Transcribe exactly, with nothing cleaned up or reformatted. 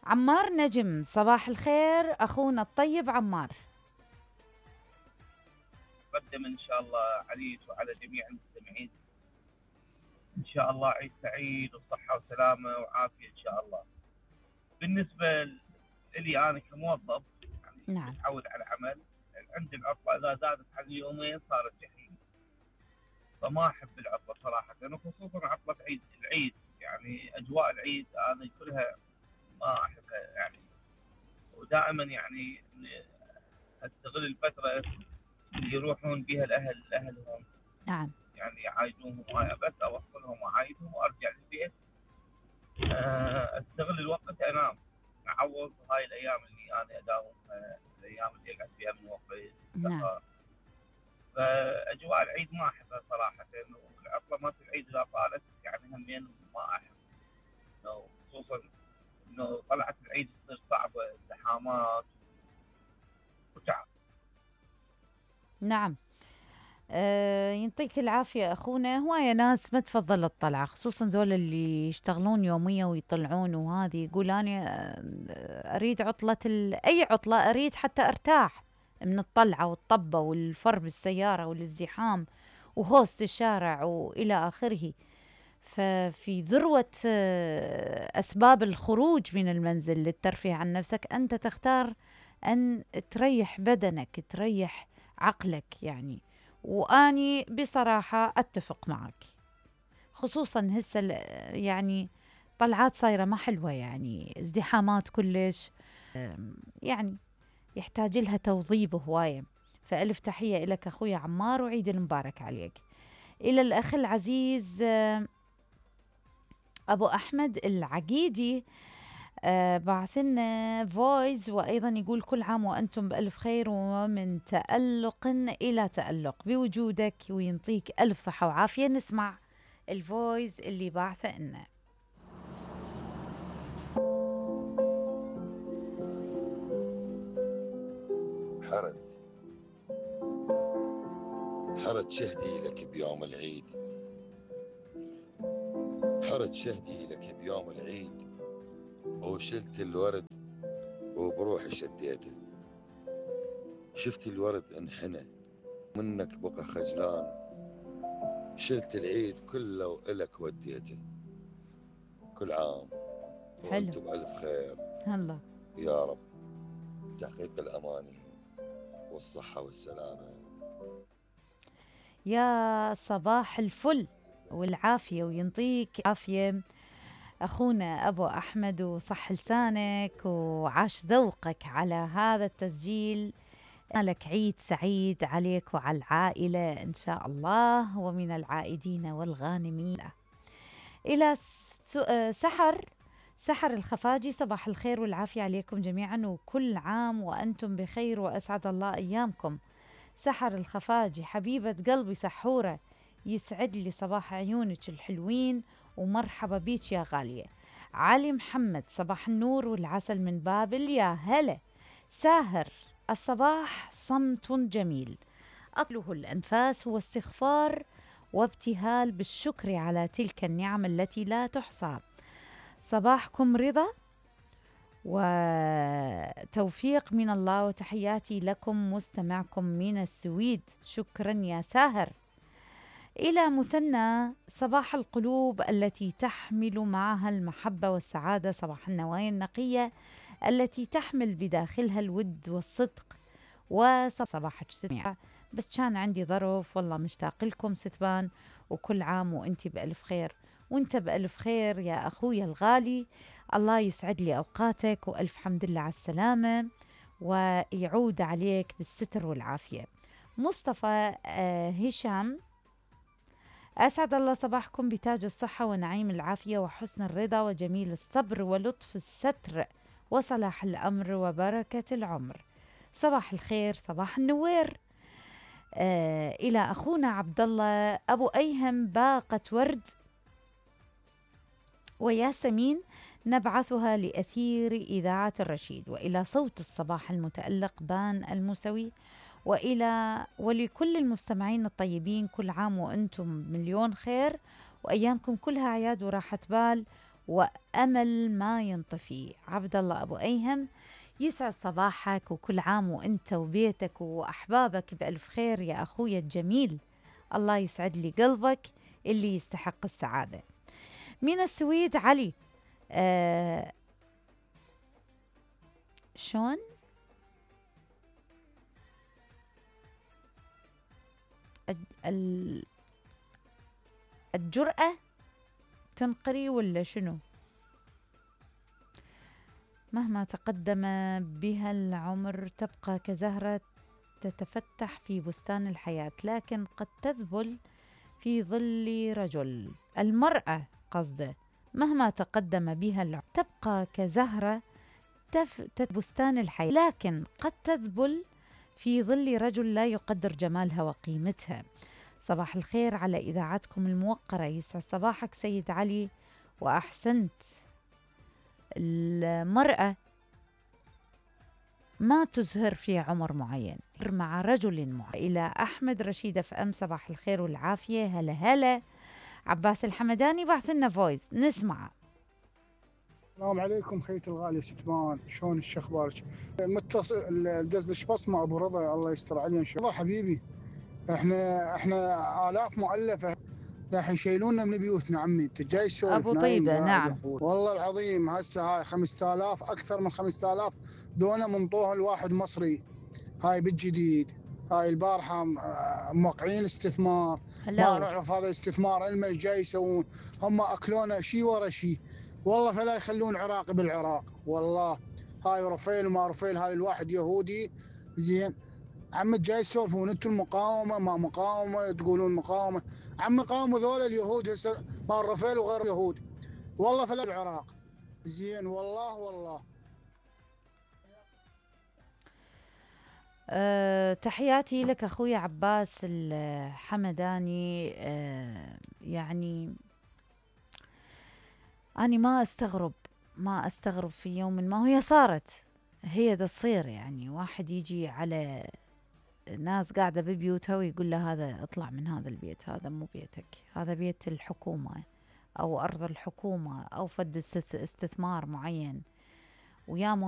عمار نجم، صباح الخير أخونا الطيب عمار. قدم إن شاء الله عليك وعلى جميع المستمعين إن شاء الله عيد سعيد وصحة وسلامة وعافية إن شاء الله. بالنسبة لي أنا كموظف يعني نعم. متعود على العمل، عندي العطلة إذا زادت عن يومين صارت جحيم، فما أحب العطلة صراحة، وخصوصا عطلة عيد العيد، يعني أجواء العيد أنا كلها ما أحبها يعني، ودائما يعني أستغل الفترة اللي يروحون بها الأهل لأهلهم. نعم. يعني يعايدوهم معايا بس أوصلهم وأعايدهم وأرجع للبيت، أستغل الوقت أنام، أعوض هاي الأيام اللي أنا أداوم، الأيام اللي أقعد فيها من وقت نعم. فأجواء العيد ما أحبها صراحة، والعطلة ما في العيد إذا طالت يعني همين ما أحب، خصوصا إنه طلعت العيد تصير صعبة، زحامات وتعب. نعم. أه يعطيك العافية أخونا. هواية ناس ما تفضل الطلعة، خصوصا ذول اللي يشتغلون يومية ويطلعون، وهذه يقول أنا أريد عطلة ال... أي عطلة أريد حتى أرتاح من الطلعة والطبة والفر بالسيارة والازدحام وهوست الشارع وإلى آخره. ففي ذروة أسباب الخروج من المنزل للترفيه عن نفسك أنت تختار أن تريح بدنك، تريح عقلك يعني. وأني بصراحة أتفق معك، خصوصا هسه يعني طلعات صايرة ما حلوة، يعني ازدحامات كلش، يعني يحتاج لها توظيب هواية. فألف تحية لك أخويا عمار، وعيد المبارك عليك. إلى الأخ العزيز أبو أحمد العقيدي، آه بعثنا فويس، وأيضا يقول كل عام وأنتم بألف خير ومن تألق إلى تألق بوجودك، وينطيك ألف صحة وعافية. نسمع الفويس اللي بعثه لنا. حرد حرد شهدي لك بيوم العيد، حرد شهدي لك بيوم العيد، وشلت الورد وبروحي شديته، شفت الورد انحنى منك بقى خجلان، شلت العيد كله وإلك وديته. كل عام وانتم بألف خير الله يا رب، تحقيق الأماني والصحة والسلامة. يا صباح الفل والعافية، وينطيك عافية أخونا أبو أحمد، وصح لسانك وعاش ذوقك على هذا التسجيل. لك عيد سعيد عليك وعلى العائلة إن شاء الله، ومن العائدين والغانمين. إلى سحر سحر الخفاجي، صباح الخير والعافية عليكم جميعا، وكل عام وأنتم بخير وأسعد الله أيامكم. سحر الخفاجي حبيبة قلبي سحورة، يسعد لي صباح عيونك الحلوين، ومرحبا بيك يا غالية. علي محمد، صباح النور والعسل من بابل، يا هلا. ساهر الصباح صمت جميل أطله الأنفاس هو استغفار وابتهال بالشكر على تلك النعم التي لا تحصى. صباحكم رضا وتوفيق من الله، وتحياتي لكم مستمعكم من السويد. شكرا يا ساهر. إلى مثنى، صباح القلوب التي تحمل معها المحبة والسعادة، صباح النوايا النقية التي تحمل بداخلها الود والصدق. وصباحك ستمع، بس كان عندي ظرف، والله مشتاق لكم ستبان، وكل عام وانت بألف خير، وانت بألف خير يا أخويا الغالي. الله يسعد لي أوقاتك، وألف حمد لله على السلامة، ويعود عليك بالستر والعافية. مصطفى آه هشام، أسعد الله صباحكم بتاج الصحة ونعيم العافية وحسن الرضا وجميل الصبر ولطف الستر وصلاح الأمر وبركة العمر. صباح الخير، صباح النوير. آه إلى أخونا عبد الله أبو أيهم، باقة ورد وياسمين نبعثها لأثير إذاعة الرشيد، وإلى صوت الصباح المتألق بان الموسوي، وإلى ولكل المستمعين الطيبين، كل عام وأنتم مليون خير، وأيامكم كلها عياد وراحة بال وأمل ما ينطفي. عبد الله أبو أيهم، يسعد صباحك وكل عام وأنت وبيتك وأحبابك بألف خير يا أخويا الجميل. الله يسعد لي قلبك اللي يستحق السعادة. من السويد علي، آه شون الجرأة تنقري ولا شنو؟ مهما تقدم بها العمر تبقى كزهرة تتفتح في بستان الحياة، لكن قد تذبل في ظل رجل. المرأة قصده، مهما تقدم بها العمر تبقى كزهرة تف... بستان الحياة، لكن قد تذبل في ظل رجل لا يقدر جمالها وقيمتها. صباح الخير على إذاعتكم الموقرة، يسعد صباحك سيد علي وأحسنت. المرأة ما تزهر في عمر معين، مع رجل معين. إلى أحمد رشيد اف ام، صباح الخير والعافية. هلا هلا. عباس الحمداني بعث لنا فويس نسمعه. السلام عليكم خيتي الغالية ستمان، شلون الشخبارك؟ متصل دزلش بصمة ابو رضا، الله يستر عليه ان شاء الله. حبيبي احنا احنا آلاف مؤلفة راح يشيلونا من بيوتنا. عمي انت جاي تسولف ابو طيبة؟ نعم والله العظيم. هسه هاي خمسة آلاف، اكثر من خمسة آلاف دونا منطوها الواحد مصري. هاي بالجديد، هاي البارحة موقعين استثمار، ما نعرف هذا الاستثمار المش جاي يسوون. هم اكلونا شي ورا شي والله، فلا يخلون عراقي بالعراق والله. هاي رفيل وما رفيل، هاي الواحد يهودي زين. عم جاي تسولفون انتم المقاومه ما مقاومه، تقولون مقاومه. عم قاوموا ذول اليهود هسه مال رفيل وغير يهود والله، فلا العراق زين والله والله. أه تحياتي لك اخوي عباس الحمداني. أه يعني أنا ما أستغرب ما أستغرب في يوم ما هي صارت، هي دا تصير. يعني واحد يجي على ناس قاعدة ببيوتها ويقول له هذا اطلع من هذا البيت، هذا مو بيتك، هذا بيت الحكومة أو أرض الحكومة أو فد استثمار معين. ويا